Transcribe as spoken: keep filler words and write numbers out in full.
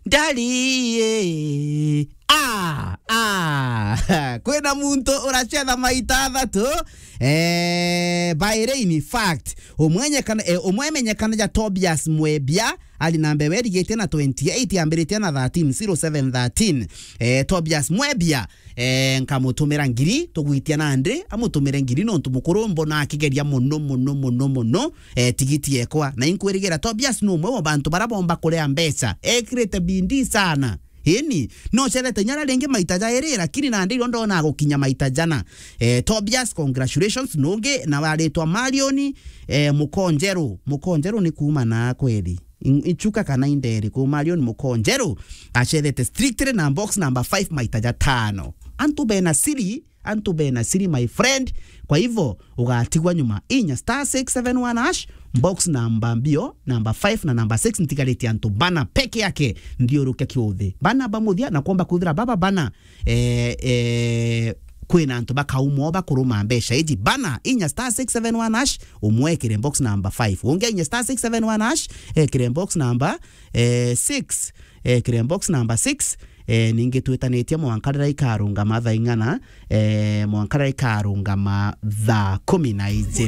Ndari, eh. Ah, ah. Kwina muntu uracetha maita athatu. Eh, by rain, in fact, umwenyekana, eh, umwe emenyekana ja Tobias Mwebia, ari na mbere erigitie na twenty-eight, ambiritie na thirteen, zero seven thirteen. Eh, Tobias Mwebia, eh, nkamutumira ngiri, tugwitia nandi, amutumire ngiri nontu mukuru mbona akigeria mono, mono, mono, mono, eh, tigiti ekwa. Na inkwirigira Tobias ni umwe wa bantu bara bomba kuria mbeca. Ekirite bidii sana. Ini, no cethete inya ringi maita jairi, lakini nandi iro ndona gukinya maita jana. Eh, Tobias, congratulations, nungi, na waritwa Marion, eh, Mukonjeru. Mukonjeru ni kuuma na kweli. In-, ichuka kana inderi ku Marion Mukonjeru. Acethete strictly na box number five maita jatano. Antu bena siri, antu bena siri, my friend. Kwa hivyo, ugatigwa nyuma. Inya star six seven one hash, box number mbio, number five na number six, ntigarite antu bana peke yake, nthiuruke kiuthi. Bana ba muthia, na kwomba kwithira baba bana, eh, eh, kwina antu bakaumwo bakuruma mbeca iji. Bana, inya star six seven one hash, umwekire box number five. Ungi inya star six seven one hash, ekire box number, eh, six. Ekire box number six. Eh, ningi twitanitie mwanka riria ikarungama thaa ing'ana, eh, mwanka riria ikarungama thaa kumi na iji.